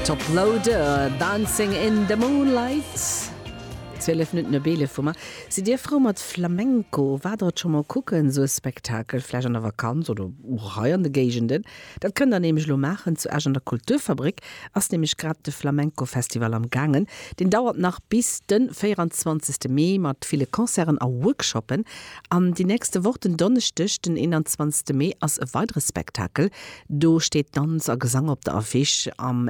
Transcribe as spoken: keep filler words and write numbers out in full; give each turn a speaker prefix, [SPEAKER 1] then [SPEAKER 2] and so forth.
[SPEAKER 1] Toploader, Dancing in the Moonlight. Zwielef Minutten op eelef hu mer. Sidd Dir frou mat Flamenco? Waart Der et scho mol kucken, sou e Spektakel, vläicht an der Vakanz oder och hei an de Géigenden? Dat kënnt der nämlech elo maachen. Zu Esch an der Kulturfabrik ass nämlech grad de Flamenco-Festival am gaangen. Deen dauert nach bis de véieranzwanzegste Mee mat ville Concerten a Workshoppen. An déi nächste Woch den Donneschdeg, den eenanzwanzegste Mee, ass e weidere Spektakel. Do steet Danz a Gesang op der Affiche am.